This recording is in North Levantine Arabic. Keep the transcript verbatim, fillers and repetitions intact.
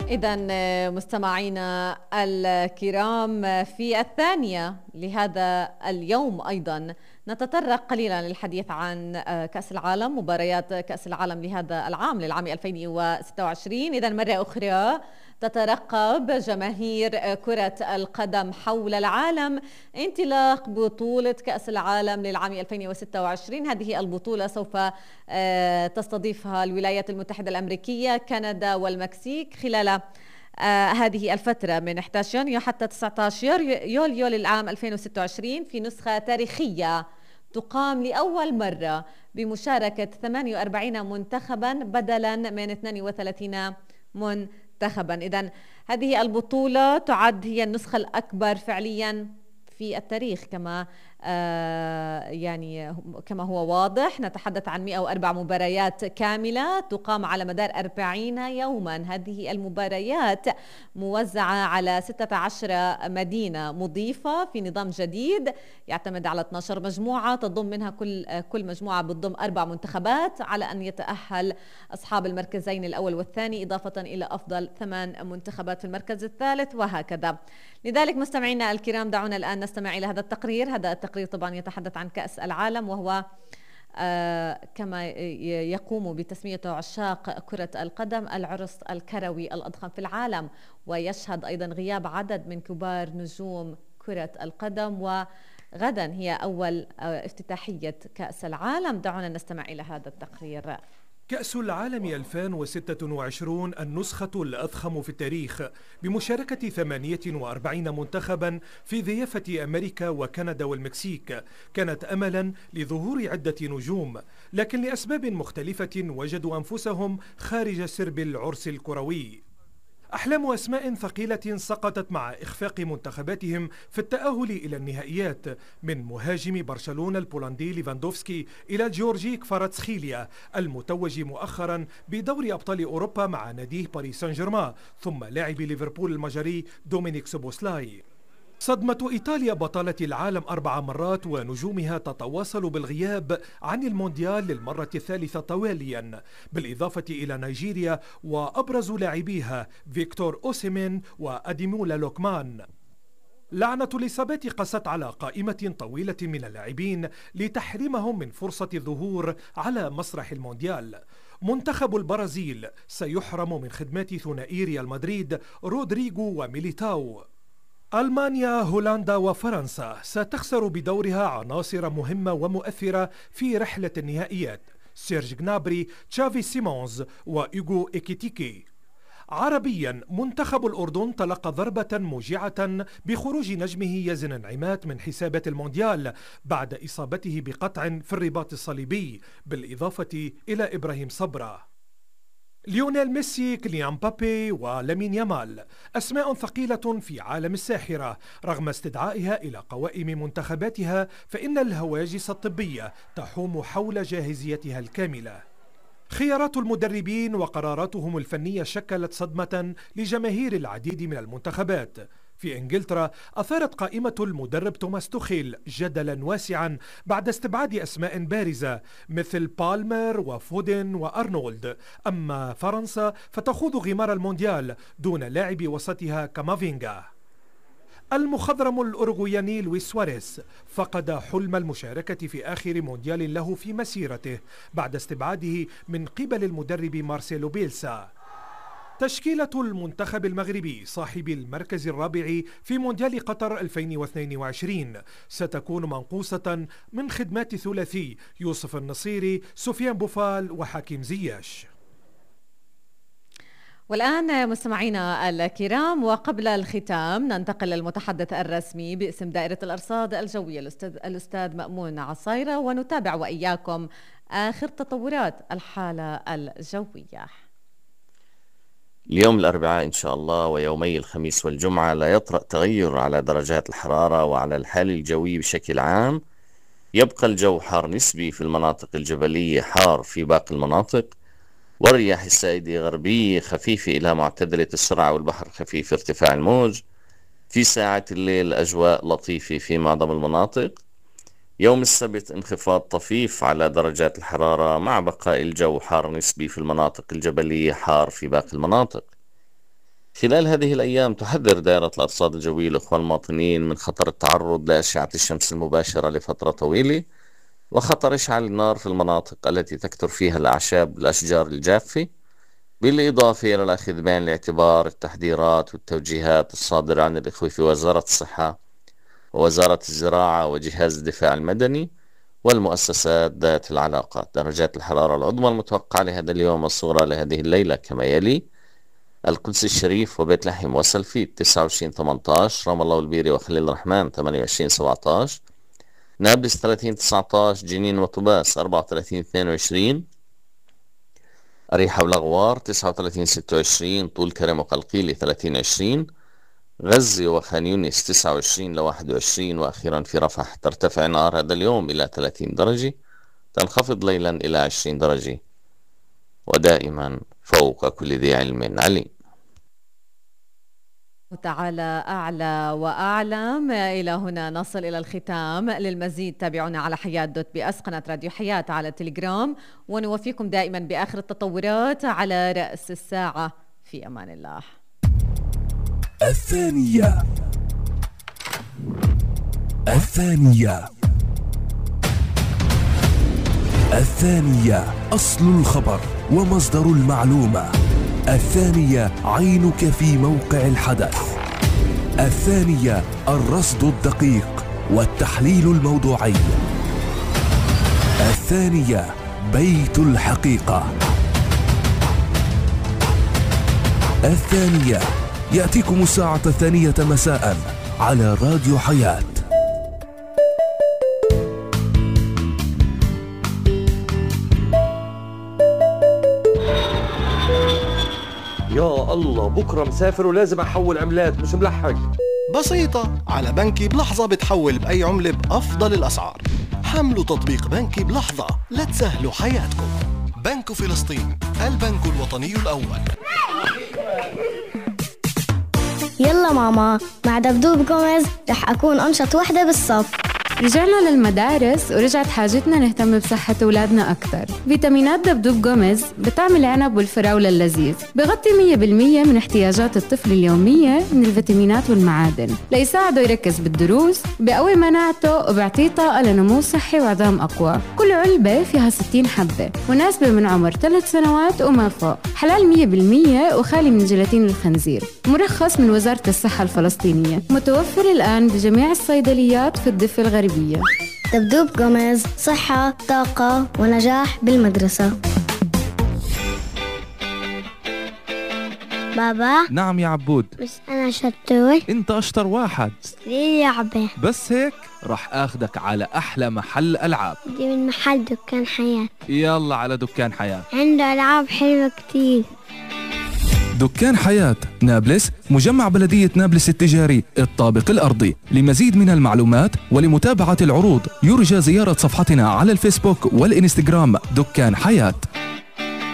إذن مستمعينا الكرام، في الثانية لهذا اليوم أيضا نتطرق قليلا للحديث عن كأس العالم، مباريات كأس العالم لهذا العام للعام ألفين وستة وعشرين. إذن مرة أخرى تترقب جماهير كرة القدم حول العالم انطلاق بطولة كأس العالم للعام ألفين وستة وعشرين. هذه البطولة سوف تستضيفها الولايات المتحدة الأمريكية، كندا والمكسيك خلال آه هذه الفترة من إحدى عشر يونيو حتى تسعة عشر يوليو للعام ألفين وستة وعشرين، في نسخة تاريخية تقام لأول مرة بمشاركة ثمانية وأربعين منتخبا بدلا من اثنين وثلاثين منتخبا. إذن هذه البطولة تعد هي النسخة الأكبر فعليا في التاريخ، كما آه يعني كما هو واضح. نتحدث عن مئة وأربع مباريات كاملة تقام على مدار أربعين يوما. هذه المباريات موزعة على ستة عشر مدينة مضيفة في نظام جديد يعتمد على اثنتي عشرة مجموعة، تضم منها كل كل مجموعة بتضم أربع منتخبات، على أن يتأهل أصحاب المركزين الأول والثاني إضافة إلى أفضل ثمان منتخبات في المركز الثالث، وهكذا. لذلك مستمعينا الكرام، دعونا الآن نستمع إلى هذا التقرير. هذا التقرير طبعا يتحدث عن كأس العالم، وهو آه كما يقوم بتسميته عشاق كرة القدم العرس الكروي الأضخم في العالم، ويشهد أيضا غياب عدد من كبار نجوم كرة القدم، وغدا هي أول آه افتتاحية كأس العالم. دعونا نستمع إلى هذا التقرير. كأس العالم ألفين وستة وعشرين النسخة الأضخم في التاريخ، بمشاركة ثمانية وأربعين منتخبا في ضيافة أمريكا وكندا والمكسيك. كانت أملا لظهور عدة نجوم، لكن لأسباب مختلفة وجدوا أنفسهم خارج سرب العرس الكروي. أحلام أسماء ثقيلة سقطت مع إخفاق منتخباتهم في التأهل إلى النهائيات، من مهاجم برشلونة البولندي ليفاندوفسكي إلى جيورجي كفاراتسخيليا المتوج مؤخرا بدوري أبطال أوروبا مع ناديه باريس سان جيرمان، ثم لاعب ليفربول المجري دومينيك سوبوسلاي. صدمة إيطاليا بطلة العالم أربع مرات ونجومها تتواصل بالغياب عن المونديال للمرة الثالثة تواليا، بالإضافة إلى نيجيريا وأبرز لاعبيها فيكتور أوسيمين وأديمولا لوكمان. لعنة الإصابات قست على قائمة طويلة من اللاعبين لتحريمهم من فرصة الظهور على مسرح المونديال. منتخب البرازيل سيحرم من خدمات ثنائي ريال مدريد رودريغو وميليتاو. ألمانيا، هولندا وفرنسا ستخسر بدورها عناصر مهمة ومؤثرة في رحلة النهائيات، سيرج جنابري، تشافي سيمونز وإيغو إيكيتيكي. عربيا، منتخب الأردن تلقى ضربة موجعة بخروج نجمه يزن نعيمات من حسابات المونديال بعد إصابته بقطع في الرباط الصليبي، بالإضافة إلى إبراهيم صبرا. ليونيل ميسي، كيليان مبابي ولامين يامال أسماء ثقيلة في عالم الساحرة، رغم استدعائها إلى قوائم منتخباتها فإن الهواجس الطبية تحوم حول جاهزيتها الكاملة. خيارات المدربين وقراراتهم الفنية شكلت صدمة لجماهير العديد من المنتخبات. في إنجلترا أثارت قائمة المدرب توماس توخيل جدلا واسعا بعد استبعاد أسماء بارزة مثل بالمر وفودن وأرنولد. أما فرنسا فتخوض غمار المونديال دون لاعب وسطها كامافينغا. المخضرم الأورغوياني لويس سواريز فقد حلم المشاركة في آخر مونديال له في مسيرته بعد استبعاده من قبل المدرب مارسيلو بيلسا. تشكيلة المنتخب المغربي صاحب المركز الرابع في مونديال قطر ألفين واثنين وعشرين ستكون منقوصة من خدمات ثلاثي يوسف النصيري، سفيان بوفال وحكيم زياش. والآن مستمعينا الكرام، وقبل الختام ننتقل للمتحدث الرسمي باسم دائرة الأرصاد الجوية الأستاذ, الأستاذ مأمون عصيرة، ونتابع وإياكم آخر تطورات الحالة الجوية. اليوم الأربعاء إن شاء الله ويومي الخميس والجمعة لا يطرأ تغير على درجات الحرارة وعلى الحال الجوي بشكل عام. يبقى الجو حار نسبي في المناطق الجبلية، حار في باقي المناطق، والرياح السائدة غربية خفيفة إلى معتدلة السرعة، والبحر خفيف ارتفاع الموج. في ساعات الليل أجواء لطيفة في معظم المناطق. يوم السبت انخفاض طفيف على درجات الحرارة مع بقاء الجو حار نسبي في المناطق الجبلية، حار في باقي المناطق. خلال هذه الأيام تحذر دائرة الأرصاد الجوية الأخوة المواطنين من خطر التعرض لأشعة الشمس المباشرة لفترة طويلة، وخطر إشعال النار في المناطق التي تكثر فيها الأعشاب والأشجار الجافة، بالإضافة إلى الأخذ بعين الاعتبار التحذيرات والتوجيهات الصادرة عن الإخوة في وزارة الصحة ووزارة الزراعة وجهاز الدفاع المدني والمؤسسات ذات العلاقة. درجات الحرارة العظمى المتوقعة لهذا اليوم والصغرى لهذه الليلة كما يلي: القدس الشريف وبيت لحم وسلفيت تسعة وعشرين ثمانية عشر، رام الله والبيري وخليل الرحمن ثمانية وعشرين سبعة عشر، نابلس ثلاثين تسعة عشر، جنين وطباس أربعة وثلاثين اثنين وعشرين، أريحة والأغوار تسعة وثلاثين ستة وعشرين، طول كرم وقلقيلي ثلاثين عشرين، غزة وخان يونس تسعة وعشرين لواحد وعشرين، وأخيرا في رفح ترتفع نهار هذا اليوم إلى ثلاثين درجة، تنخفض ليلا إلى عشرين درجة، ودائما فوق كل ذي علم عليم. تعالى أعلى وأعلم. إلى هنا نصل إلى الختام. للمزيد تابعونا على حياة دوت بي أس، قناة راديو حياة على تليجرام، ونوفيكم دائما بآخر التطورات على رأس الساعة. في أمان الله. الثانية الثانية الثانية أصل الخبر ومصدر المعلومة. الثانية عينك في موقع الحدث. الثانية الرصد الدقيق والتحليل الموضوعي. الثانية بيت الحقيقة. الثانية يأتيكم الساعة الثانية مساء على راديو حياة. يا الله، بكرة مسافر ولازم أحول عملات، مش ملحق. بسيطة، على بنكي بلحظة بتحول بأي عملة بأفضل الأسعار. حملوا تطبيق بنكي بلحظة لتسهلوا حياتكم. بنك فلسطين، البنك الوطني الأول. يلا ماما، مع دبدوب جوميز رح أكون أنشط وحدة بالصف. رجعنا للمدارس ورجعت حاجتنا نهتم بصحة أولادنا أكتر. فيتامينات دبدوب جوميز بتعمل العنب والفراولة اللذيذ، بغطي مية بالمية من احتياجات الطفل اليومية من الفيتامينات والمعادن ليساعده يركز بالدروس، بقوي مناعته وبيعطيه طاقة لنمو صحي وعظام أقوى. كل علبة فيها ستين حبة، مناسبة من عمر ثلاث سنوات وما فوق، حلال مية بالمية وخالي من جيلاتين الخنزير، مرخص من وزارة الصحة الفلسطينية، متوفر الآن بجميع الصيدليات في الضفة الغربية. دبدوب جوميز، صحة، طاقة ونجاح بالمدرسة. بابا. نعم يا عبود. بس أنا شطور. أنت أشطر واحد. ليه لعبة؟ بس هيك رح أخدك على أحلى محل ألعاب. دي من محل دكان حياة. يلا على دكان حياة، عنده ألعاب حلوة كتير. دكان حياة نابلس، مجمع بلدية نابلس التجاري الطابق الأرضي. لمزيد من المعلومات ولمتابعة العروض يرجى زيارة صفحتنا على الفيسبوك والإنستغرام دكان حياة.